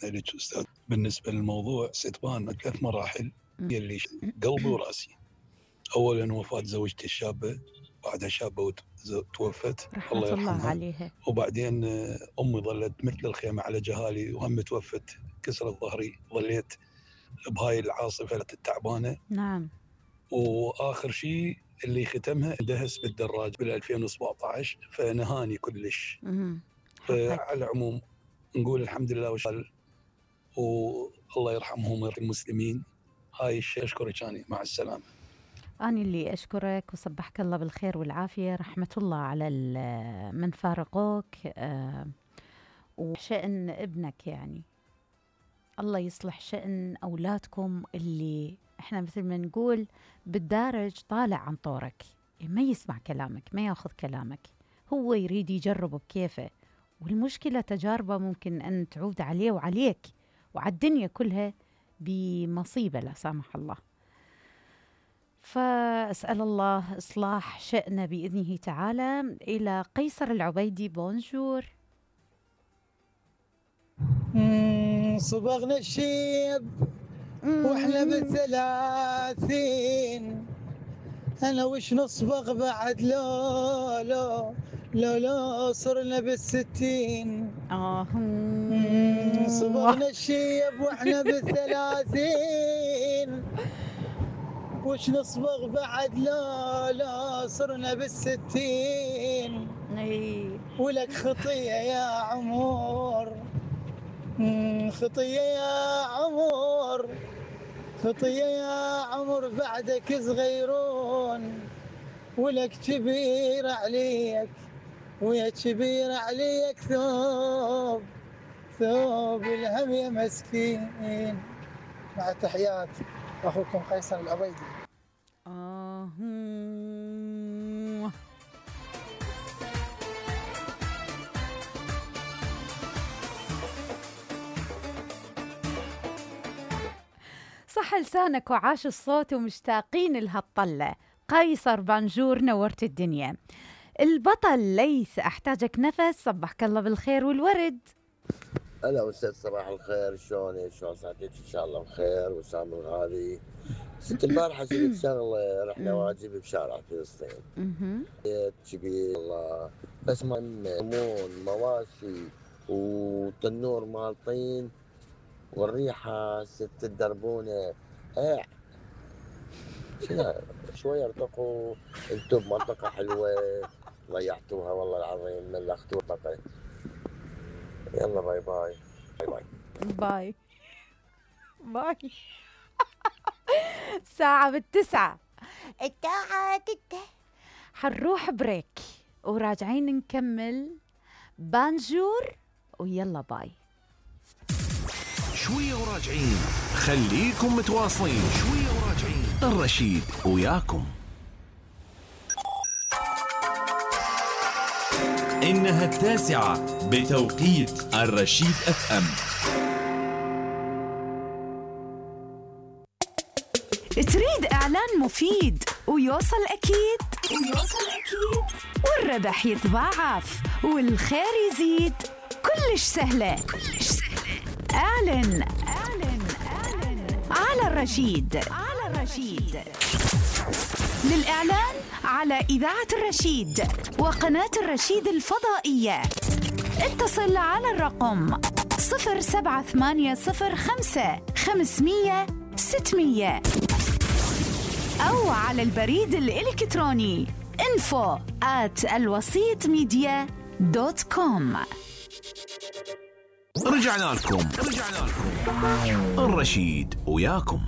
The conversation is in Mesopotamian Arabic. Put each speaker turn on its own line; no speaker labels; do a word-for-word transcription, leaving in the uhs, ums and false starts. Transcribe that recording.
لك أستاذ. بالنسبة للموضوع ستبان ثلاث مراحل يلي قلبي ورأسي. أولا وفاة زوجتي الشابة، بعدها شابة توفت
رحمة الله, الله عليها.
وبعدين أمي ظلت مثل الخيمة على جهالي وهم توفت، كسرت ظهري، ظليت بهاي العاصفة التعبانة.
نعم.
وآخر شيء اللي ختمها دهس بالدراج بال ألفين وسبعة عشر فنهاني كلش. فعلى العموم نقول الحمد لله وشال، والله يرحمهم ويرحم المسلمين. هاي الشيء أشكرك أنا، مع السلامة.
أنا اللي أشكرك وصبحك الله بالخير والعافية. رحمة الله على من فارقوك أه وشأن ابنك، يعني الله يصلح شأن أولادكم اللي إحنا مثل ما نقول بالدارج طالع عن طورك، ما يسمع كلامك، ما ياخذ كلامك، هو يريد يجرب بكيفه، والمشكلة تجاربه ممكن أن تعود عليه وعليك وعلى الدنيا كلها بمصيبة لا سامح الله. فأسأل الله إصلاح شأنه بإذنه تعالى. إلى قيصر العبيدي، بونجور.
صبغنا الشيب واحنا بالثلاثين، انا وش نصبغ بعد؟ لو لو لو لو صرنا بالستين.
اه
صبغنا الشيب واحنا بالثلاثين، وش نصبغ بعد؟ لا لا صرنا بالستين. ولك خطية يا عمر، خطية يا عمر، خطية يا عمر بعدك صغيرون، ولك كبير عليك ويا كبير عليك ثوب، ثوب الهم يا مسكين. مع تحيات أخوكم قيصر العبيدي.
آه صح لسانك وعاش الصوت ومشتاقين لهالطلة. قيصر بانجور نورت الدنيا. البطل ليث أحتاجك نفس، صبحك الله بالخير والورد.
هلا أستاذ، صباح الخير، شلونك؟ شلون صحتك؟ إن شاء الله بخير. وسام الغالي، ست البارحة جبت شغلة، رحنا واجب بشارع فلسطين. جبت الله بس مأمون مواشي وتنور مال طين والريحة ست الدربونة. ايه شوية ارتقوا انتم بمنطقة حلوة، ضيعتوها والله العظيم، ملختوا المنطقة. يلا باي باي باي
باي باي. ساعة بالتسعة، الساعة تسعة حنروح بريك وراجعين نكمل بانجور، ويلا باي.
شوية وراجعين، خليكم متواصلين. شوية وراجعين، الرشيد وياكم.
إنها التاسعة بتوقيت الرشيد اف ام.
تريد إعلان مفيد ويوصل أكيد ويوصل أكيد والربح يتضاعف والخير يزيد؟ كلش سهلة كلش سهلة. اعلن اعلن اعلن على الرشيد على الرشيد. للإعلان على إذاعة الرشيد وقناة الرشيد الفضائية اتصل على الرقم صفر سبعة ثمانية صفر خمسة خمسمية ستمية أو على البريد الإلكتروني info at الوسيط ميديا دوت كوم.
رجعنا لكم رجعنا لكم الرشيد وياكم.